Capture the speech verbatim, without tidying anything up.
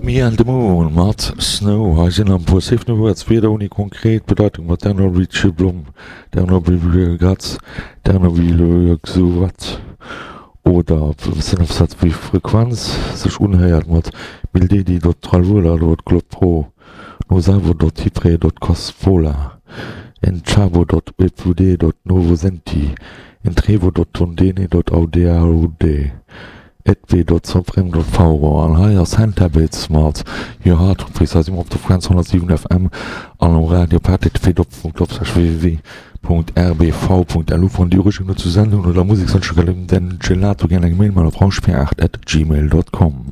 Me and the Moon mat Snow. Hei sinn am puer Safe No Words, Wierder ouni konkret Bedeitung mat Dernovice Blom, Dernovice Dernovice oder Sënnofsaz wéi Frequenz sech unhéiert mat mildedi dot tralvula dot globpro nosavo dot hypre dot cospola enchavo dot webvd dot novosenti entrevo dot tondene dot audeaude etv dot soprem dot fauro an hei ass Handhabits mat Your Heart Reprise. Hei si mer op der Frequenz honnertsiwen F M an um Radio op H T T P doppelpunkt doppelslash W W W Punkt R B V Punkt L U. Wann Dir Ureegungen zur Sendung oder Musekswënsche gëtt, den Gelato gär eng Mail mat op rauschbier aacht at gmail dot com.